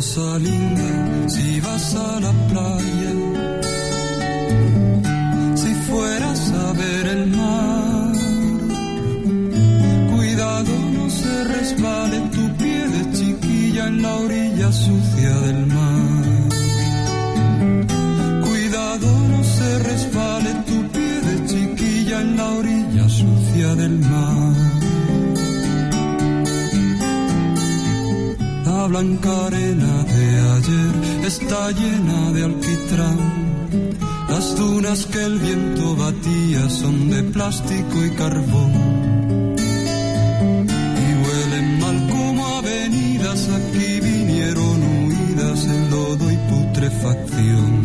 Rosalinda, si vas a la playa, si fueras a ver el mar, cuidado no se resbale tu pie de chiquilla en la orilla sucia del mar. Cuidado no se resbale tu pie de chiquilla en la orilla sucia del mar. La blanca arena de ayer está llena de alquitrán. Las dunas que el viento batía son de plástico y carbón. Y huelen mal como avenidas, aquí vinieron huidas en lodo y putrefacción.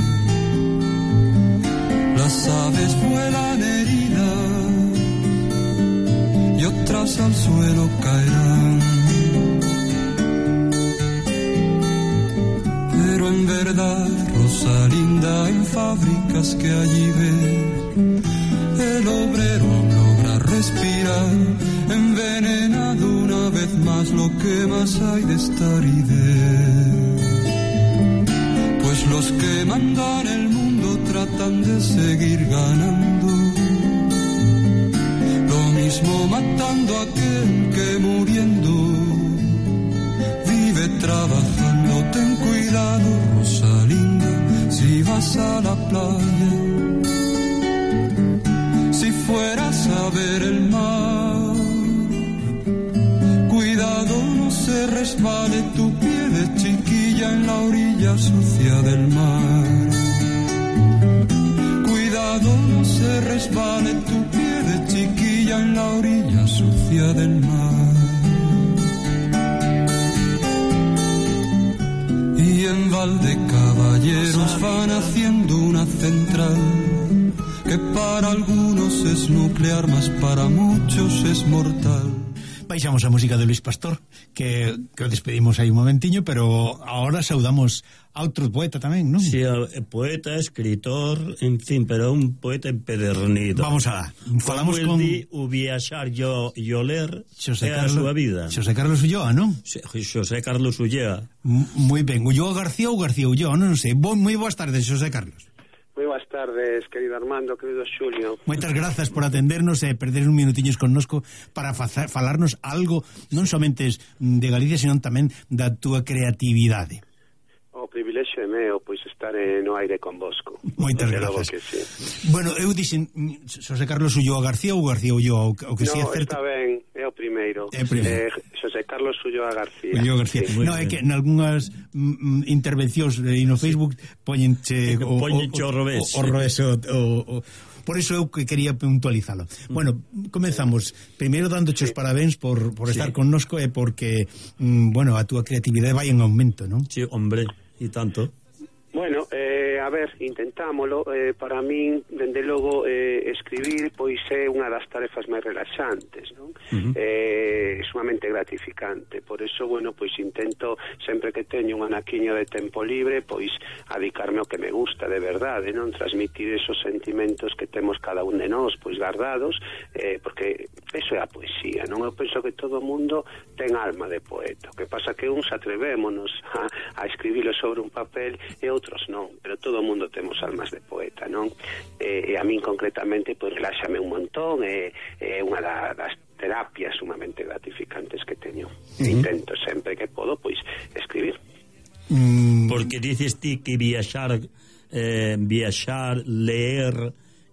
Las aves vuelan heridas y otras al suelo caerán. Pero en verdad, Rosalinda, en fábricas que allí ves, el obrero logra respirar, envenenado una vez más lo que más hay de esta aridez. Pues los que mandan el mundo tratan de seguir ganando, lo mismo matando a aquel que muriendo vive trabajando. Ten cuidado, Rosalinda, si vas a la playa, si fueras a ver el mar, cuidado no se resbale tu pie de chiquilla en la orilla sucia del mar. Cuidado no se resbale tu pie de chiquilla en la orilla sucia del mar. Y en Valdecaballeros van haciendo una central que para algunos es nuclear, mas para muchos es mortal. Baixamos a música de Luis Pastor, que o despedimos aí un momentiño, pero ahora saudamos a outro poeta tamén, non? Sí, poeta, escritor, en fin, pero un poeta empedernido. Vamos a falamos con o viaxar e o ler é a súa vida. Xosé Carlos Ulloa, non? Xosé Carlos Ulloa. Moi ben, Ulloa García ou García Ulloa, non sei. Moi boas tardes, Xosé Carlos. Moi boas tardes, querido Armando, querido Xulio. Moitas grazas por atendernos e perder un minutiños connosco para falarnos algo non somente de Galicia, senón tamén da túa creatividade. O privilexio é meu, pois estar no aire convosco. Moitas grazas. Sí. Bueno, eu dixen Xosé Carlos Ulloa García ou García Ulloa, o que si é certo. No, está ben, é o primeiro. Xosé Carlos Ulloa García. Ulloa García. Sí. No, é que en algunhas intervencións no Facebook poñenche o revés. Por iso eu que quería puntualizalo. Bueno, comenzamos. Primeiro dándoche os parabéns por estar connosco e porque, bueno, a túa creatividade vai en aumento, non? Sí, hombre, e tanto. Bueno, a ver, intentámolo. Para min, dende logo, escribir pois é unha das tarefas máis relaxantes, non? É sumamente gratificante. Por eso, bueno, pois intento, sempre que teño un anaquiño de tempo libre, pois adicarme ao que me gusta de verdade, non? Transmitir esos sentimentos que temos cada un de nós, pois guardados, porque eso é a poesía, non? Eu penso que todo o mundo ten alma de poeta. O que pasa que uns atrevémonos a escribilo sobre un papel e outros non, pero todo o mundo temos almas de poeta, non? E a min concretamente, pois reláxame un montón, é unha das terapias sumamente gratificantes que teño. Intento sempre que podo, pois, escribir. Porque dices ti que viaxar, leer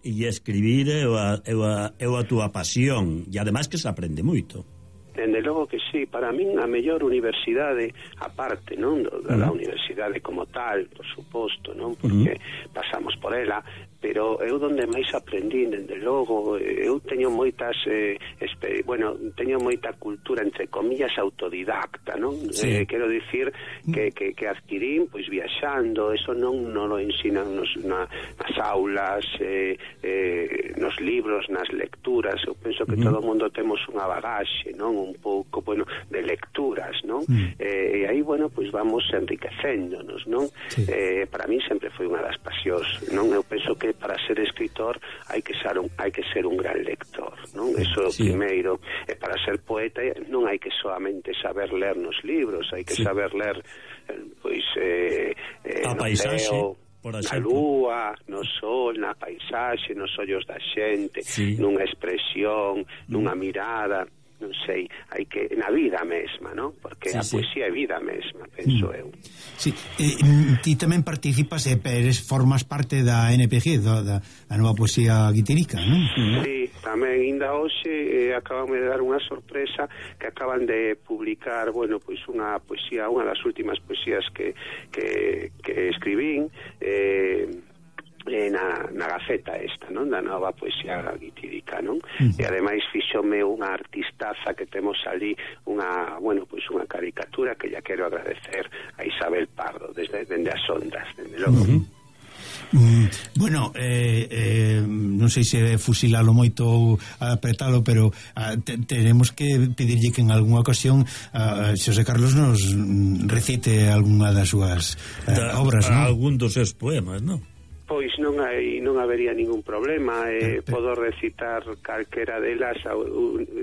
e escribir é a túa pasión, e ademais que se aprende moito. Dende logo que sí, para min a mellor universidade, aparte, non, da universidade como tal, por suposto, non, porque pasamos por ela, pero eu donde máis aprendín, dende logo, eu teño moitas, teño moita cultura, entre comillas, autodidacta, non? Sí. Quero dicir que adquirín, pois, viaxando, eso non lo ensinan nas aulas, nos libros, nas lecturas. Eu penso que todo o mundo temos unha bagaxe, non? Un pouco, bueno, de lecturas, non? E aí, bueno, pois vamos enriquecéndonos, non? Sí. Para mí sempre foi unha das pasións, non? Eu penso que para ser escritor hai que ser un gran lector, non? Eso primeiro. E para ser poeta non hai que solamente saber ler nos libros, hai que saber ler pois a paisaxe, ceo, por na exemplo, lúa, no sol, na paisaxe, nos ollos da xente, nunha expresión, nunha mirada, non sei, hai que na vida mesma, non? Porque a poesía é vida mesma, penso eu. Sí, ti tamén participas e formas parte da NPG, da nova poesía guiterica, non? Sí, tamén ainda hoxe acaban de dar unha sorpresa que acaban de publicar, bueno, pois unha poesía, unha das últimas poesías que escribín na Gaceta esta, non? Da nova poesía guitírica, non? E ademais fixome unha artistaza que temos ali, unha caricatura que ya quero agradecer a Isabel Pardo dende as ondas, dende logo. Bueno, non sei se fusilalo moito ou apretalo, pero tenemos que pedirlle que en algunha ocasión Xosé Carlos nos recite algunha das súas obras, non? Algún dos seus poemas, non? Pois non habería ningún problema, podo recitar calquera delas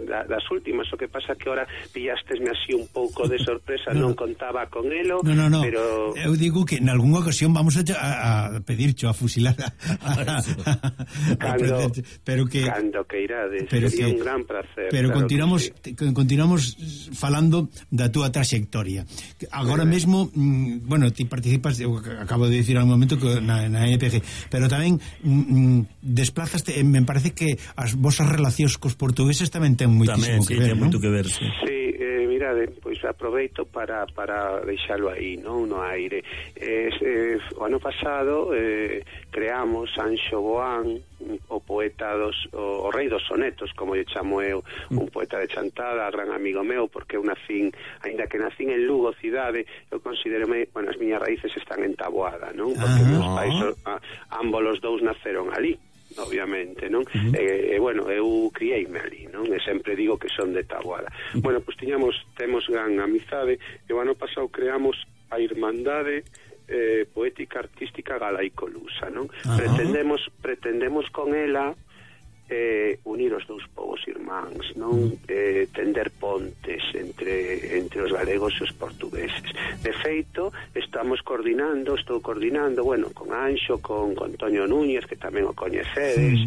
das últimas, o que pasa que ahora pillastesme así un pouco de sorpresa, non contaba con elo, pero eu digo que en algunha ocasión vamos a pedircho a fusilar pero que cando que irades, sería un gran placer. Pero claro, continuamos falando da túa traxectoria. Agora mesmo, bueno, ti participas, eu acabo de dicir ao momento que na NPG, pero tamén desplazaste, me parece que as vosas relacións cos portugueses tamén ten moitísimo que ver, non? Moito que ver, sí. Mirade, pois aproveito para deixalo aí, non, no aire. O ano pasado creamos Anxo Boán, o poeta o rei dos sonetos, como lle chamo eu, un poeta de Chantada, gran amigo meu, porque eu nacín, ainda que nacín en Lugo cidade, eu considerome, bueno, as miñas raíces están en Taboada, non? Porque meus pais ambos os dous naceron ali, obviamente, non? Bueno, eu criei-me ali, non? E sempre digo que son de Taboada. Bueno, pois temos gran amizade, e o ano pasado creamos a Irmandade Poética Artística Galaico-Lusa, non? Pretendemos con ela unir os dous povos irmáns, non? Tender pontes entre os galegos e os portugueses. De feito, estou coordinando, bueno, con Anxo, con Antonio Núñez, que tamén o coñecedes,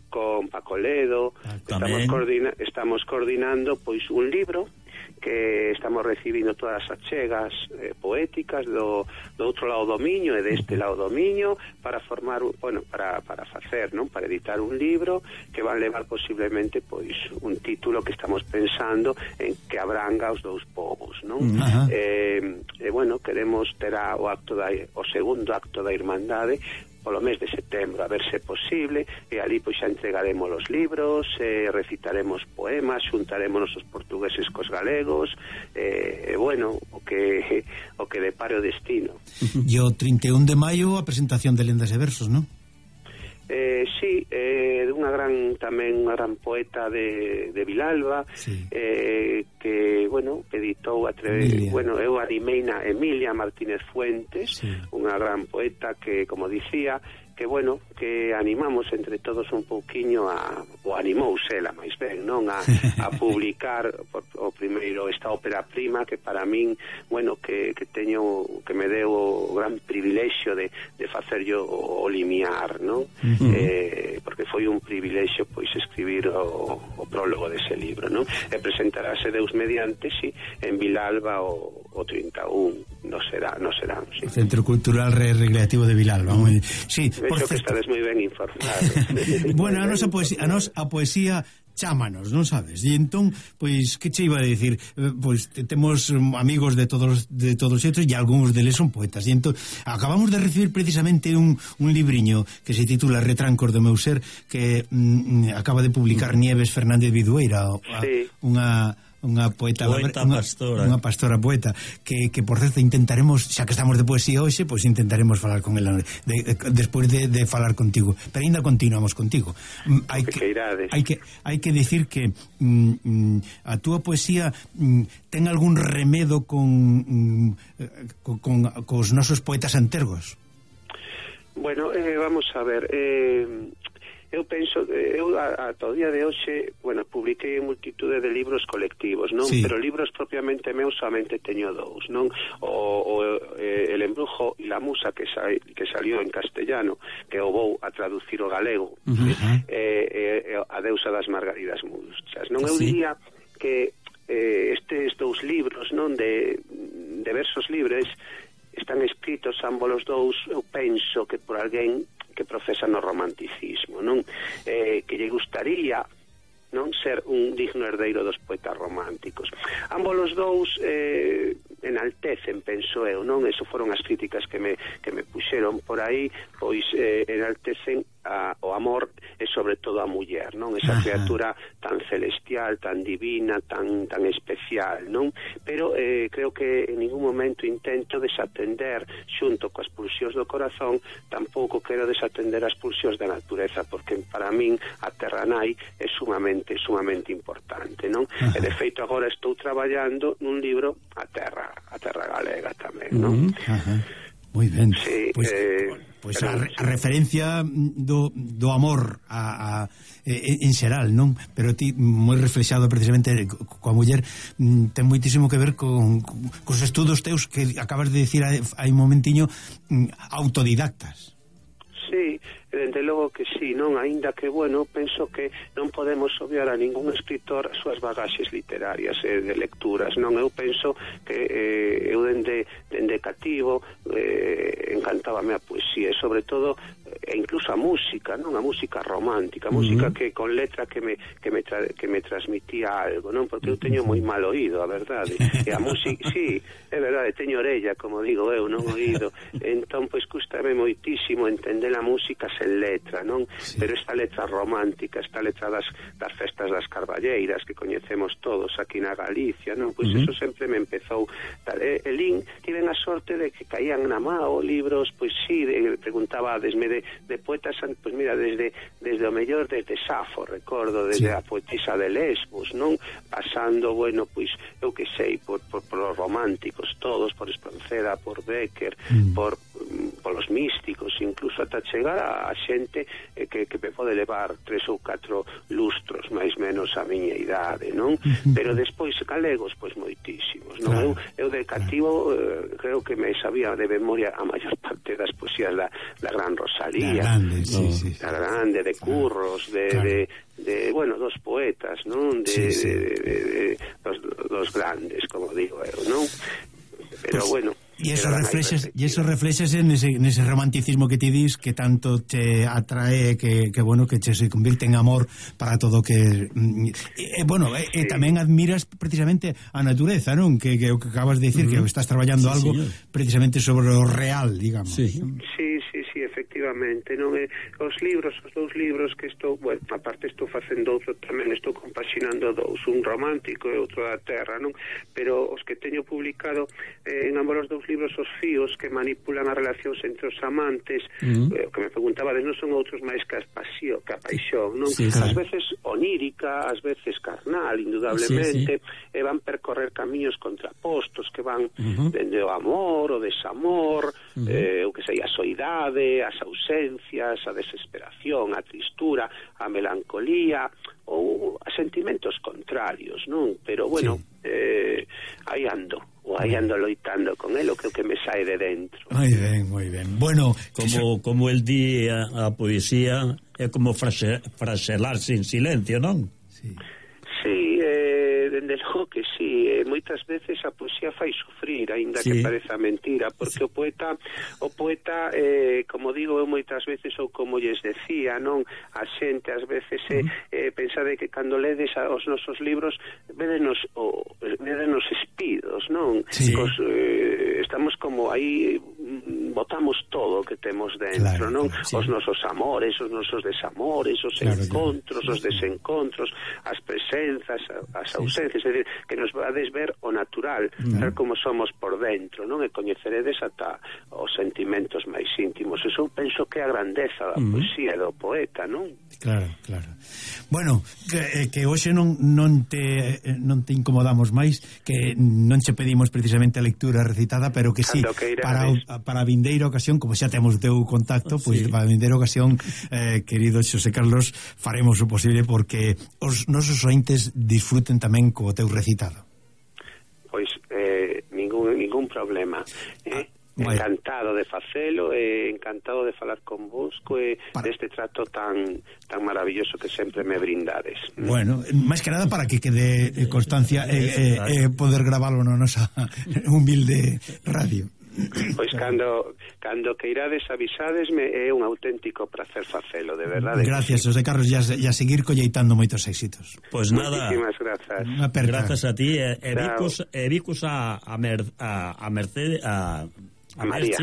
con Paco Ledo, estamos coordinando pois un libro que estamos recibindo todas as achegas poéticas do outro lado do Miño e deste lado do Miño para formar, bueno, para facer, non? Para editar un libro que van levar posiblemente pois un título que estamos pensando en que abranga os dous povos, non? Bueno, queremos ter o segundo acto da Irmandade polo mes de setembro, a ver se é posible, e ali pois xa entregaremos os libros, recitaremos poemas, xuntaremos os portugueses cos galegos, bueno, o que depare o destino. E o 31 de maio a presentación de Lendas e Versos, non? Sí, unha gran poeta de Vilalba, que, bueno, editou bueno, eu animeina Emilia Martínez Fuentes, unha gran poeta que, como dicía, que, bueno, que animamos entre todos un pouquiño ou animouse ela máis ben, non? A publicar o primeiro esta ópera prima que para min, bueno, que me deu o gran privilexio de facer yo o limiar, non? Porque foi un privilexio pois escribir o prólogo dese libro, non? E presentarase Deus mediante, en Vilalba o 31 no será, sí. Centro Cultural Recreativo de Vilalba. Sí, vexo que estades moi ben informados. Bueno, a poesía chámanos, non sabes? E entón, pois, que che iba a dicir? Pois temos amigos de todos xeitos e algúns deles son poetas. E entón, acabamos de recibir precisamente un libriño que se titula Retrancos do meu ser, que acaba de publicar Nieves Fernández Vidueira, unha poeta pastora. Unha pastora poeta que por certo intentaremos, xa que estamos de poesía hoxe, pois intentaremos falar con ela despois de falar contigo, pero ainda continuamos contigo. Hai que dicir que a túa poesía ten algún remedo cos nosos poetas antergos. Bueno, vamos a ver, eu penso, eu ata o día de hoxe, bueno, publiquei multitude de libros colectivos, non? Sí. Pero libros propiamente meus somente teño dous, non? El embrujo e la musa que salió en castellano, que o vou a traducir o galego, a deusa das margaridas musas, non? Eu diría que estes dous libros, non, de versos libres, están escritos ambos os dous, eu penso que por alguén que profesa no romanticismo, non? Que lle gustaría, non, ser un digno herdeiro dos poetas románticos. Ambos os dous enaltecen, penso eu, non? Eso foron as críticas que me puxeron por aí, pois enaltecen o amor e sobre todo a muller, non? Esa criatura tan celestial, tan divina, tan especial, non? Pero creo que en ningún momento intento desatender xunto coas pulsións do corazón, tampouco quero desatender as pulsións da natureza, porque para min a terra nai é sumamente importante, non? E de feito agora estou traballando nun libro a terra galega tamén, non? Moi ben. Sí, pois a referencia do amor en xeral, non? Pero ti, moi reflexado precisamente coa muller, ten moitísimo que ver cos estudos teus que acabas de dicir hai un momentiño, autodidactas. Sí, dende logo que sí, non? Aínda que, bueno, penso que non podemos obviar a ningún escritor as súas bagaxes literarias de lecturas, non? Eu penso que eu dende cativo encantábame a poesía e sobre todo e incluso a música, non? A música romántica, a música que con letra que me transmitía algo, non? Porque eu teño moi mal oído, a verdade. E a música, sí, é verdade, teño orella, como digo eu, non oído. Entón, pois, custame moitísimo entender a música sen letra, non? Sí. Pero esta letra romántica, esta letra das festas das carballeiras que coñecemos todos aquí na Galicia, non? Pois eso sempre me empezou. Elín, tiven a sorte de que caían na mao libros, pois sí, preguntaba desme de poetas, pois mira, desde o mellor desde Safo, recordo, desde a poetisa de Lesbos, non? Pasando, bueno, pois eu que sei, por os románticos todos, por Espronceda, por Becker, por los místicos, incluso ata chegar a xente que me pode levar 3 ou 4 lustros máis menos a miña idade, non? Pero despois galegos, pois moitísimos, non? Claro. Eu de cativo creo que me sabía de memoria a maior parte das poesías da Gran Rosalía, la grande, de Curros, de bueno, dos poetas, non? De dos grandes, como digo eu, non? Pero bueno, e eso reflexas en ese romanticismo que ti dis que tanto te atrae, que bueno, que se convirte en amor para todo que bueno, sí. Tamén admiras precisamente a natureza, non? Que acabas de decir que estás traballando algo precisamente sobre o real, digamos. Sí, efectivamente, non? Os dous libros que estou, bueno, aparte estou facendo outro tamén, estou compaxinando dous, un romántico e outro da terra, non? Pero os que teño publicado en ambos os dous libros, os fíos que manipulan as relacións entre os amantes, que me preguntaba, non son outros máis que a paixón, non? Ás veces onírica, ás veces carnal, indudablemente, e van percorrer camiños contrapostos que van dende o amor, o desamor, o que sei, a soidade, as ausencias, a desesperación, a tristura, a melancolía ou a sentimentos contrarios, non? Pero bueno, aí ando loitando con el, o que me sae de dentro. Moi ben. Bueno, como el di a poesía é como fraselarse en silencio, non? Sí, dende logo que sí, moitas veces a poesía fai sufrir, aínda que pareza mentira, porque o poeta, como digo eu moitas veces, ou como lles decía, non? A xente ás veces pensade que cando ledes os nosos libros védenos espidos, non? Estamos como aí, botamos todo o que temos dentro, non? Os nosos amores, os nosos desamores, os encontros, os desencontros, as presenzas, as ausencias, é dicir, que nos vades ver o natural, ver como somos por dentro, non? E coñeceredes ata os sentimentos máis íntimos. Eso penso que é a grandeza da poesía e do poeta, non? Claro. Bueno, que hoxe non te incomodamos máis, que non che pedimos precisamente a lectura recitada, pero que sí, para vindeira ocasión, como xa temos o teu contacto, pois para a vindeira ocasión, querido Xosé Carlos, faremos o posible porque os nosos ointes disfruten tamén co teu recitado. Pois ningún problema. Encantado de facelo, encantado de falar con vos deste trato tan maravilloso que sempre me brindades. Bueno, máis que nada para que quede constancia poder gravarlo na nosa humilde radio. Pois cando queirades avisadesme, é un auténtico placer facelo, de verdade. Gracias, José Carlos, e a seguir colleitando moitos éxitos. Pois nada, muchísimas grazas. Grazas a ti, vicus a Mercedes, a María,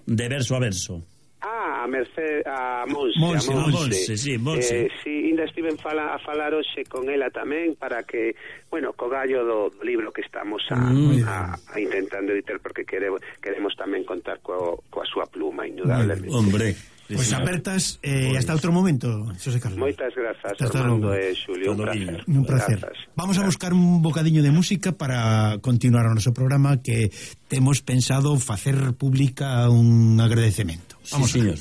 de verso a verso. A Mercedes, a Monse, sí, Monse. Sí, ainda estiven a falar hoxe con ela tamén para que, bueno, co gallo do libro que estamos a intentando editar, porque queremos tamén contar coa súa pluma, indudablemente. Hombre, pois apertas hasta outro momento, Xosé Carlos. Moitas grazas, Armando e Xulio, un placer. Vamos a buscar un bocadiño de música para continuar o noso programa, que temos pensado facer pública un agradecemento. Vamos, sí, señor.